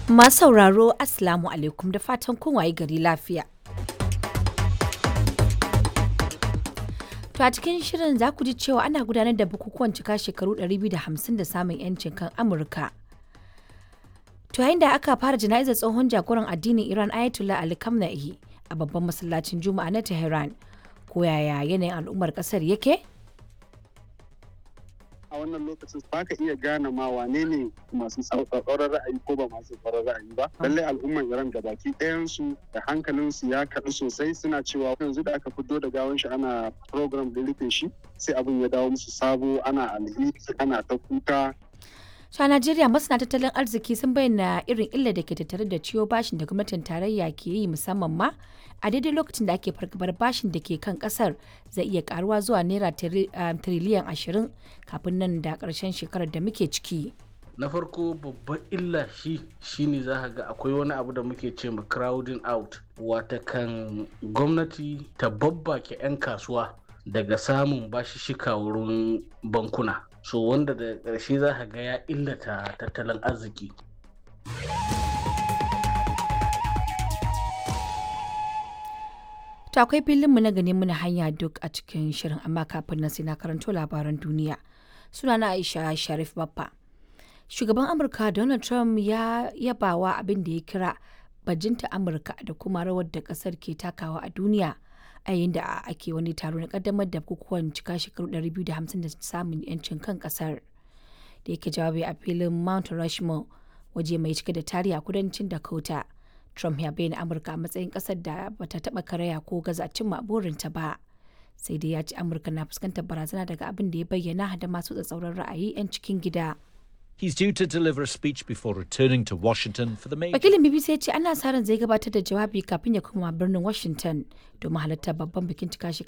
Masu sauraro, Assalamu alaikum, da fatan kun waye gari lafiya. To a cikin shirin za ku ji cewa ana gudanar da bukukuwan cika shekaru 250 da samun 'yancin kan Amurka. To yayin da aka fara jana'izar tsohon jagoran addinin Iran Ayatollah Ali Khamenei a babban masallacin Juma'a na Tehran. Ko yaya yanayin al'ummar kasar yake? A wannan lokacin ba ka iya gane ma wane ne masu tsauraran ra'ayi ko ba masu tsauraran ra'ayi ba. Lallai al'umman Iran da baki ɗayansu da hankalinsu ya kaɗu sosai, suna cewa yanzu da aka fito da gawan shi ana program da rufe shi, sai abin ya dawo musu sabo, ana alheri, ana ta kuka. To a Najeriya, masana tattalin arziki sun bayyana irin illar da ke tattare da ciwo bashin da gwamnatin tarayya ke yi, musamman ma a daidai lokacin da ake fargabar bashin da ke kan kasar zai iya karuwa zuwa naira tiriliyan 20 kafin nan da karshen shekarar da muke ciki. Na farko, babban illa shi shine za ka ga akwai wani abu da muke ce ma crowding out, watakan gwamnati ta babbake 'yan kasuwa daga samun bashishika wurin bankuna, so wanda da ƙarshe za ka ga ya illata tattalin arziki. To akwai filinmu na gani muna hanya duk a cikin shirin, amma kafin nan sai na karanto labaran duniya. Sunana Aisha Sharif Baffa. Shugaban Amurka Donald Trump ya yabawa abin da ya kira bajinta Amurka da kuma rawar da kasar ke takawa a duniya a yayin da ake wani taro na kaddamar da bukukuwan cika shekaru 250 da samun yancin kan kasar. Da yake jawabi a filin Mount Rushmore, waje mai cike da tarihi a kudancin Dakota. Trump ya bayyana Amurka a matsayin kasar da bata taba karaya ko gaza cimma burinta ba. Sai dai ya ce Amurka na fuskantar barazana daga abin da ya bayyana da masu tsatsauran ra'ayi 'yan cikin gida. He's due to deliver a speech before returning to Washington for the major. Wakilin BBC ya ce ana sa ran zai gabatar da jawabi kafin ya koma birnin Washington domin halartar babban bikin cika shekaru